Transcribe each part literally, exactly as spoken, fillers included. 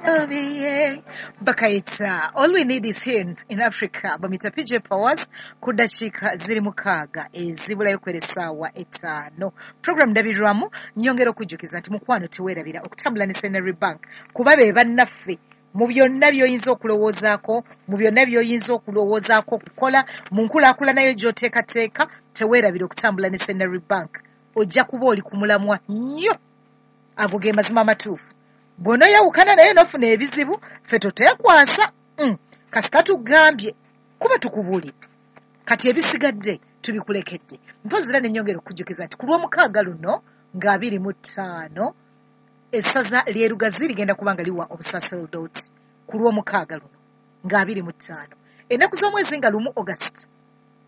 Obiye. Bakayita All We Need Is Here in Africa, bamita P J Powers ku ddakiika ziri mukaaga ezibulayo kwera essaawa etaano. Program ndabirwamu nyongera okujjukiza nti mukwano teweerabira okutambula ne Centenary Bank, kuba be bannaffe mu byonna by'oyinza okulowoozaako, mu byonna by'oyinza okulowoozaako okukola, mu nkulaakulana yo gy'oteekateeka, teweerabira okutambula ne Centenary Bank. Ojja kuba oli ku mulamwa nnyo. Ago ge mazima amatuufu. Bw'onoyawukana naye n'ofuna ebizibu, ffe toteekwasa. Mm. Kasita tugambye kuba tukubuulidde. Kati ebisigadde tubikulekedde. Mpozzi era ne nnyongera okujjukiza nti ku lw'omukaaga luno nga abiri mu ttaano essaza ly'e Lugazi ligenda kuba nga liwa obusaserdooti ku lw'omukaaga luno nga abiri mu ttaano. Ennaku z'omwezi nga lumu August,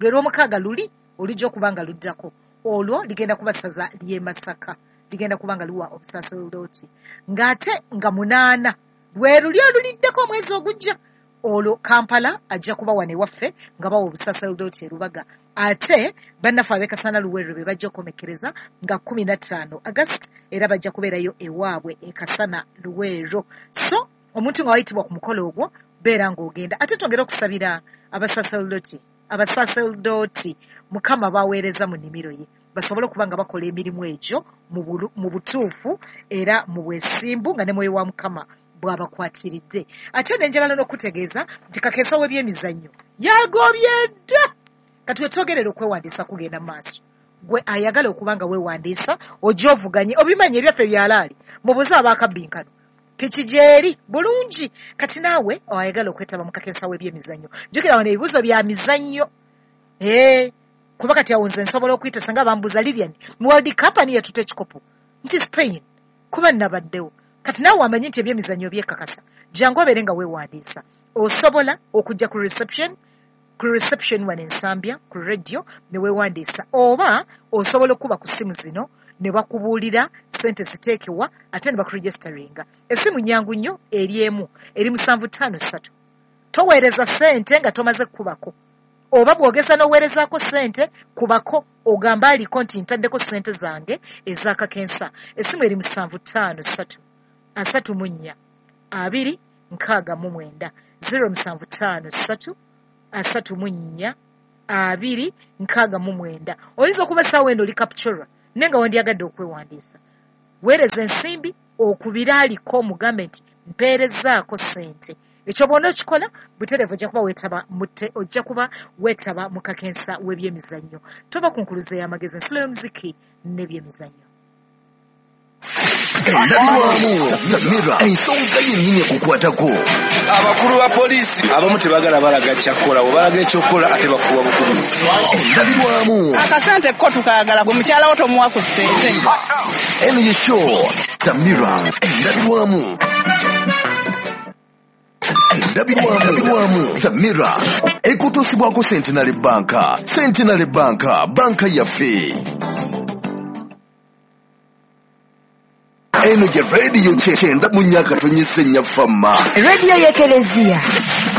lwe lw'omukaaga luli olujja okuba nga luddako, olwo ligenda kuba ssaza ly'e Masaka, ligenda kuba nga liwa obusaserdooti. Ng'ate nga munaana lwe luli oluliddeko omwezi ogujja, olwo Kampala ajja kuba wano ewaffe nga bawa obusaserdooti e Lubaga. Ate bannaffe ab'e Kasana Luweero be bajja okukomekkereza nga kkumi na ttaano August, era bajja kubeerayo ewaabwe e Kasana Luweero. So omuntu nga wayitibwa ku mukolo ogwo beera ng'ogenda. Ate twongere okusabira abasaserdooti, abasaserdooti Mukama baweereza mu nnimiro ye, basobole okuba nga bakola emirimu egyo mu butuufu era mu bwesimbu nga ne mwoyo wa Mukama bw'abakwatiridde. Ate ne njagala n'okutegeeza nti kakeesa w'ebyemizannyo yagobye dda. Kati wetwogerera okwewandiisa kugenda mu maaso. Gwe ayagala okuba nga weewandiisa ojja ovuganye, obimanyi ebyaffe byalaali, mubuze abaakabbinkano piki gyeri bulungi. Kati naawe oyagala okwetaba mu kakeesa w'ebyemizannyo, jjukira wano ebibuuzo bya mizannyo. Ee, kuba kati awo nze nsobola okuyita singa bambuuza Lilian mu World Cup ani yatutte ekikopo nti Spain, kuba nnabaddewo. Kati naawe wamanyi nti ebyemizannyo byekakasa, jangu obeere nga weewandiisa. Osobola okujja ku reception, ku reception wano Ensambya ku radio ne weewandiisa, oba osobola okuba ku ssimu zino ne bakubuulira ssente ziteekewa ate ne bakuregisteringa. Essimu nnyangu nnyo, eri emu, eri musanvu ttaano ssatu. Toweereza ssente nga tomaze kukubako, oba bw'ogeza n'oweerezaako ssente kubako ogamba aliko nti ntaddeko ssente zange ez'akakensa. Essimu eri musanvu ttaano ssatu asatu mu nnya abiri nkaaga mu mwenda, zero musanvu ttaano ssatu asatu mu nnya abiri nkaaga mu mwenda. Oyinza okuba essaawa eno oli Kapchorwa naye nga wandyagadde okwewandiisa, weereza ensimbi okubira aliko omugambe nti mpeerezaako ssente. Ekyo bw'ona okikola butereevu ojja kuba weetaba ojja kuba weetaba mu kakensa w'ebyemizannyo. Toba ku nkuluze y'amagezi, ensulo y'omuziki n'ebyemizannyo. Endabirwamu Mira, ensonga yennyini ekukwatako. Abakulu ba poliisi abamu tebagala balaga kyakukola, bwe balaga ekyokukola ate bakuwa bukubizi. Endabirwamu akasente ko tukaagala, gwe mukyala wo tomuwa ku ssente. Eno ye show The Mirror. Endabirwamu, endabirwamu The Mirror ekutuusibwako Centenary Bank. Centenary Bank, banka yaffe. Eno ye radio kyenda mu nnya akatonyesa ennya fama. Radio y'Ekelezia.